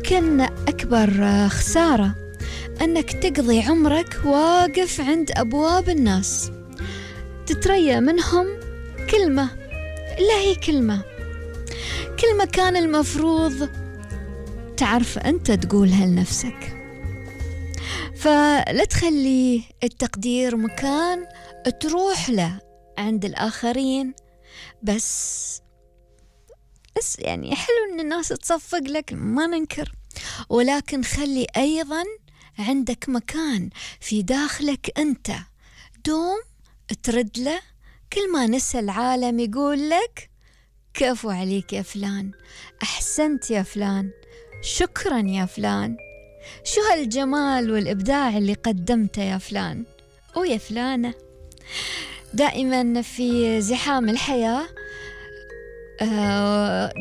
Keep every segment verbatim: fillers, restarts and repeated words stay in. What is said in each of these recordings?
يمكن أكبر خسارة أنك تقضي عمرك واقف عند أبواب الناس تتريى منهم كلمة، لا هي كلمة كلمة كان المفروض تعرف أنت تقولها لنفسك. فلا تخلي التقدير مكان تروح له عند الآخرين بس بس يعني حلو إن الناس تصفق لك، ما ننكر، ولكن خلي أيضا عندك مكان في داخلك أنت دوم ترد له كل ما نسى العالم يقول لك كفو عليك يا فلان، أحسنت يا فلان، شكرا يا فلان، شو هالجمال والإبداع اللي قدمته يا فلان أو يا فلانة. دائما في زحام الحياة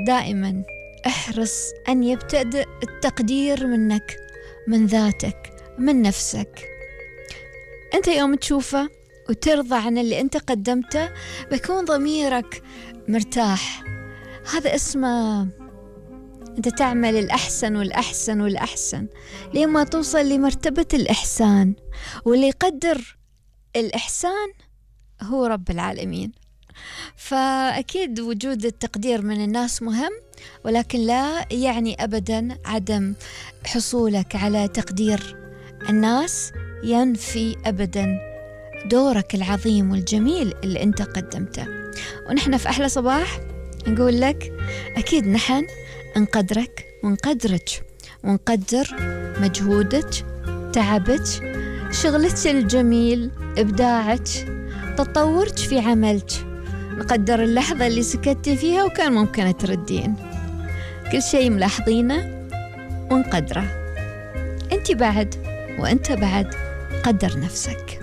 دائما احرص أن يبتدئ التقدير منك، من ذاتك، من نفسك. أنت يوم تشوفه وترضى عن اللي أنت قدمته بيكون ضميرك مرتاح. هذا اسمه أنت تعمل الأحسن والأحسن والأحسن لما توصل لمرتبة الإحسان، واللي يقدر الإحسان هو رب العالمين. فأكيد وجود التقدير من الناس مهم، ولكن لا يعني أبدا عدم حصولك على تقدير الناس ينفي أبدا دورك العظيم والجميل اللي أنت قدمته. ونحن في أحلى صباح نقول لك أكيد نحن نقدرك ونقدرك ونقدر مجهودك، تعبك، شغلك الجميل، إبداعك، تطورك في عملك. نقدر اللحظة اللي سكتي فيها وكان ممكن تردين. كل شيء ملاحظينه ونقدره. أنت بعد وأنت بعد قدر نفسك.